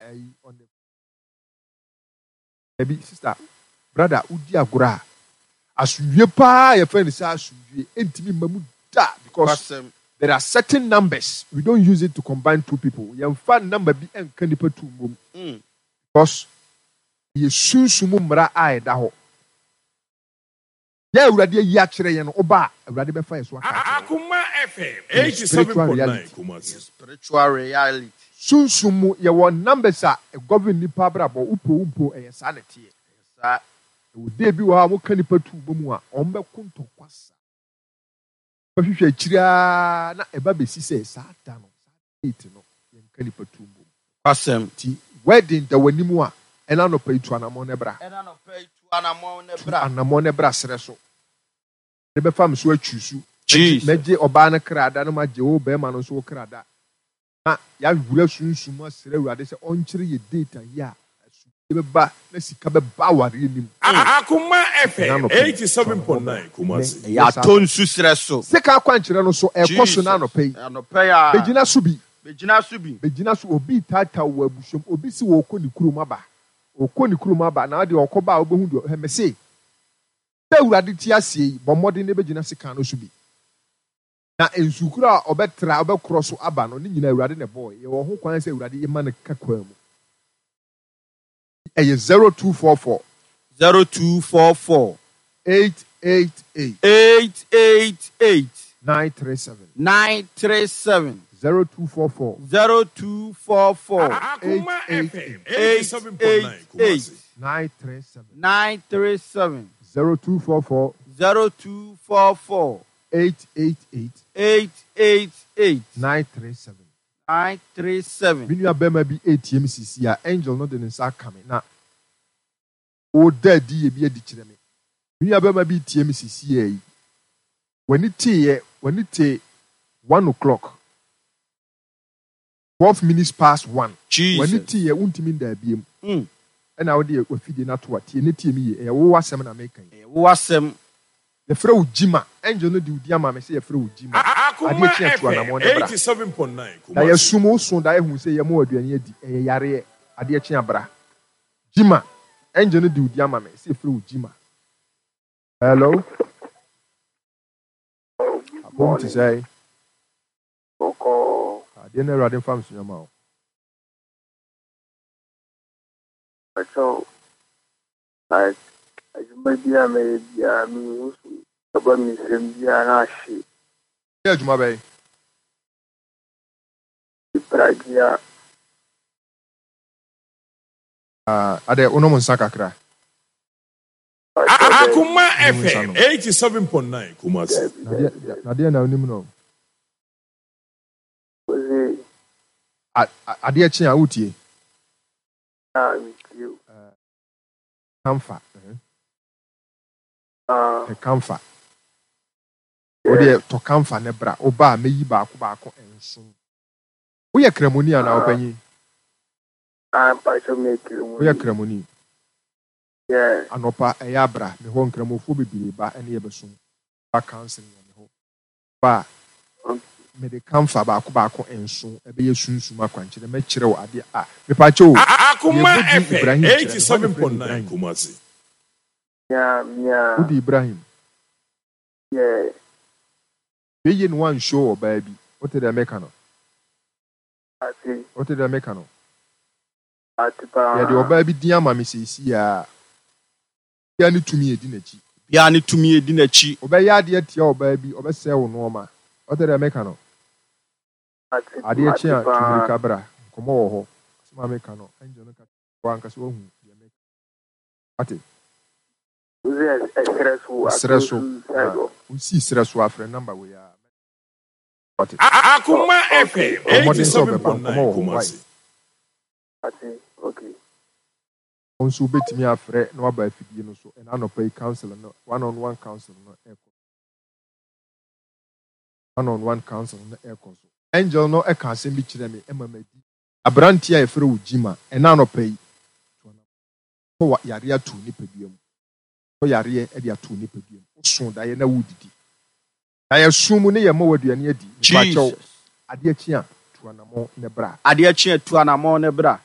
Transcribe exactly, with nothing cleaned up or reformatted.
Ɛyi on the dabi, sister, brother, wodi agorɔ a, asomdwie paa yɛfrɛ no sɛ asomdwie ɛntumi mma mu da, because Kwasɛm. there are certain numbers we don't use it to combine two people. Yɛmfa number bi ɛnka nipa two mmom Mm. because yɛ sunsum mmara a ɛda hɔ yɛ Awurade ayi akyerɛ yɛn no. Ɔba a, Awurade bɛfa yɛ so aka akyerɛ wo. Akuma F M Ɛyɛ spiritual eighty-seven point nine reality. Kumasi. Spiritual reality. Sunsum mu yɛwɔ numbers a ɛgovern nipa abrabɔ. Wopɛ wo mpo, ɛyɛ saa na ɛteɛ. Saa. Ɛwɔ day bi wɔ hɔ a moka nipa tu bɔ mu a, ɔmo bɛko ntɔkwa sa bɛhwehwɛ akyiri ara na ɛba bɛsi sɛ saa da no, saa date no, yɛnka nipa tu mbom. Kwasɛm. Nti wedding da w'anim a, ɛna anɔpa yi, tu anammɔn ne bra. Ɛna nɔpɛ yi, tu anammɔn ne Tu bra. anammɔn ne bra serɛ so de bɛfa me so atwi su. Jesus. Mɛgye ɔbaa no kra da no, magye wo bɛrima no nso wo kra da, na yɛawura sunsum asrɛ Awurade sɛ ɔnkyerɛ yɛ date a yɛ a asomdwie bɛba na sika bɛba awareɛ nim. Akuma Ɛna F M anɔpa yi, tu anammɔn bra. eighty-seven point nine Kumasi. Ɛnɛ, Ɛyɛ yɛ saa atɔ nsu serɛ so. Sika akwankyerɛ no so ɛkɔ so na Jesus. anɔpa yi. Anɔpɛ yi a. Bɛgyina so bi. Bɛgyina so bi. Bɛgyina so. Obi taataa wɔ abusuam, obi si wɔkɔ ne kurom aba, ɔkɔ ne kurom aba na adeɛ ɔkɔ ba a, wobɛhu deɛ ɛmɛ se sɛ Awurade te aseɛ yi, bɔ mmɔden ne bɛgyina sika no so bi na nsukuro a ɔbɛtra ɔbɛkorɔ so aba no ne nyinaa, Awurade na ɛbɔɔ. Yɛwɔ ho kwan sɛ Awurade yɛma no ka kwan mu. Ɛyɛ zero two four four Zero two four four eight eight eight eight eight eight nine three seven nine three seven zero two four four zero two four four Akuma eight eight F M eight eighty-seven point nine eight eight Kumasi. nine three seven nine three seven zero two four four zero two four four eight eight eight eight eight eight nine three seven. nine three seven. Me nua bɛrima bi etie mi sisi a, angel no de ne nsa aka me na ɔda adi yɛ bi adi kyerɛ me. Me nua bɛrima bi tie mi sisi yɛ yi, w'ani teeɛ, w'ani te one o'clock twelve minutes past one, w'ani Jesus. teeɛ, wuntumi nda abiem. Mm. Ɛna wode wafidie no ato a tie ne tie mi yie. Ɛyɛ wo asɛm na meka yi. Ɛyɛ wo asɛm. Yɛfrɛ wo Gyima. Angel no de wo di ama me sɛ yɛfrɛ wo Gyima. Akuma Adeɛ kye atu F M anammɔn ne bra. eighty-seven point nine Na Kumasi. yɛsum wo so da ehu sɛ yɛma wo aduane adi, ɛyɛ yareɛ. Adeɛ kye abra. Gyima, angel no de wo di ama me sɛ yɛfrɛ wo Gyima. Hello. Abom te sɛ Bɔkɔɔ. Adeɛ no, Awurade mfa nso ma wo. Ɛkyɛw, like adwuma bi a mɛyɛ biara, mehu so ɛba me nsam biara na ahye. Yɛ adwuma bɛyɛ? Pragya. Ah, adɛ wonom nsa kakra? Akuma Wonom nsa F M nom? eighty-seven point nine Kumasi. Dabi. Nadeɛ Dabi, dabi. Nadeɛ na wonim no? Ɔse A- a- adeɛ kye a wotie. A metie o. Kamfa mhm. Ah. Pɛ kamfa. Yeah. Wodeɛ tɔ kamfa ne bra. Woba a, mɛyi baako baako nson. Woyɛ kramoni anaa? Ah. Ɔpanyin? Ah, mpakyɛ, mekiri mu. Woyɛ kramoni? Yeah. Anɔpa ɛyɛ abra me hɔ. Nkramofoɔ bebree ba ɛne yɛbɛsom ba counseling wɔ me hɔ ba a, mede kamfa baako baako nson ɛbɛyɛ sunsum akwankyerɛ, mɛkyerɛ wo adeɛ a mepakyɛ o. Akuma Yɛbɔ din F M Ibrahim kyerɛ me hɔ ne frɛ no eighty-seven point nine Ibrahim. Kumasi. Mia mia. Wode Ibrahim? Yeah. Weye no wanhyɛ ɔbaa bi. Wote dɛ meka no? Ate. Wote dɛ meka no? Ate paa. Yɛde ɔbaa bi din ama me seesei a bia ne tumi edi n'akyi. Bia ne tumi edi n'akyi. Ɔbɛyɛ adeɛ tia ɔbaa bi, ɔbɛsɛe wo nneɛma. Wote dɛ meka no? Ate. Adeɛ kye Ate a, paa. tumirika bra. Nkɔmmɔ wɔ hɔ. Asɛm a meka no, angel no ka wɔ ankasa wahu deɛ meka. Ate? Wosɛ ɛserɛ so? Ɛserɛ so. Atonsu side hɔ. Wosii serɛ so afrɛ number wei a. Ate? Akuma Okay. F M Ɔmmɔden sɛ ɔbɛba. eighty-seven point nine Nkɔmmɔ wɔ hɔ. Why? Kumasi. Ate, okay. Wo nso wobɛtumi afrɛ na waba afidie no so. Ɛna anɔpa yi, council no, one on one council no ɛkɔ, one on one council no ɛkɔ so. Angel no ɛka asɛm bi kyerɛ me ɛma madi. Aberanteɛ a yɛfrɛ wo Gyima, ɛna anɔpa yi, tɔ wa yareɛ ato nipadua mu, tɔ yareɛ de ato nipadua mu. Woso daeɛ na wodidi, daeɛ sum mu ne yɛ ma w'aduane adi. Mepakyɛw, Jesus. adeɛ kye a, tu anammɔn ne bra. Adeɛ kye a, tu anammɔn ne bra.